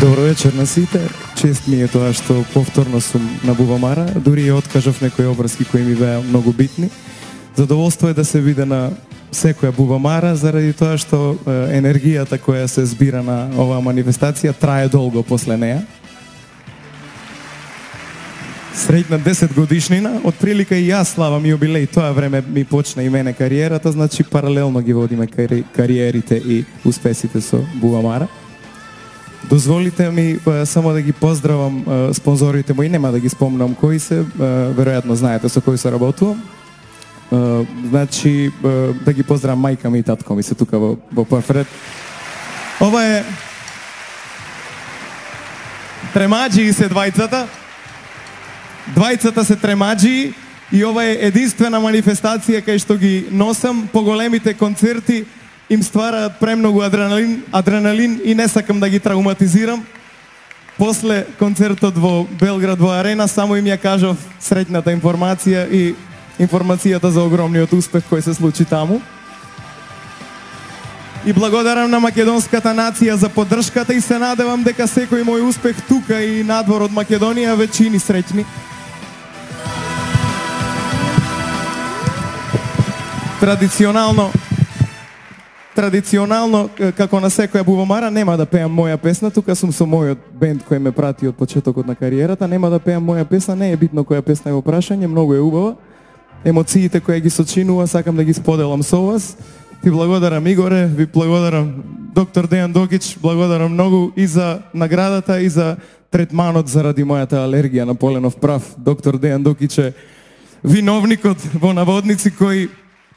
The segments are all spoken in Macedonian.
Добро вечер на сите. Чест ми е тоа што повторно сум на Бубамара, дури и откажав некои обврски кои ми беа многу битни. Задоволство е да се биде на секоја Бубамара заради тоа што енергијата која се збира на оваа манифестација трае долго после неа. Среќна 10 годишнина, од прилика и јас славам јубилеј, тоа време ми почна и мене кариерата, значи паралелно ги водиме кариерите и успесите со Бубамара. Дозволите ми само да ги поздравам спонзорите мои, нема да ги спомнам кои се, веројатно знаете со кои се работувам. Значи, да ги поздравам мајка ми и татко ми се тука во прв ред. Ова е тремаджи се двајцата. Двајцата се тремаджи и ова е единствена манифестација кај што ги носам. По големите концерти им ствараат премногу адреналин и не сакам да ги травматизирам. После концертот во Белград во Арена само им ја кажав среќната информација и информацијата за огромниот успех кој се случи таму. И благодарам на македонската нација за поддршката и се надевам дека секој мој успех тука и надвор од Македонија ве чини среќни. Традиционално, како на секоја Бубамара, нема да пеам моја песна, тука сум со мојот бенд кој ме прати од почетокот на кариерата, нема да пеам моја песна, не е битно која песна е во прашање, многу е убава. Емоциите кои ги сочинува, сакам да ги споделам со вас. Ти благодарам, Игоре, ви благодарам, доктор Дејан Докич, благодарам многу и за наградата и за третманот заради мојата алергија на поленов прав. Доктор Дејан Докич е виновникот во наводници кој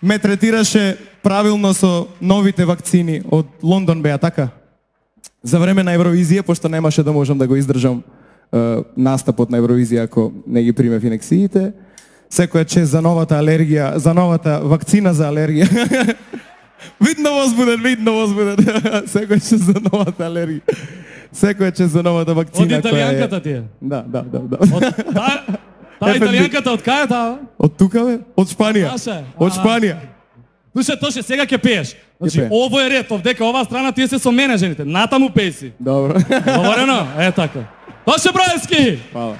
ме третираше правилно со новите вакцини од Лондон беа така. За време на Евровизија, пошто немаше да можам да го издржам настапот на Евровизија ако не ги примев инекциите. Секоја чест за новата алергија, за новата вакцина за алергија. Видно возбуден. Секоја чест за новата алергија. Секоја чест за новата вакцина. Од италијанката ти е? Да. Таа италијанката од кај е таа? Од тука бе? Од Шпанија. Од Шпанија. Душе, Тоше, сега ќе пееш. Значи, ово е ред, овдека оваа страна тие се со мене жените. Натаму песи. Добро. Говорено? Е така. Тоше Браевски! Фала.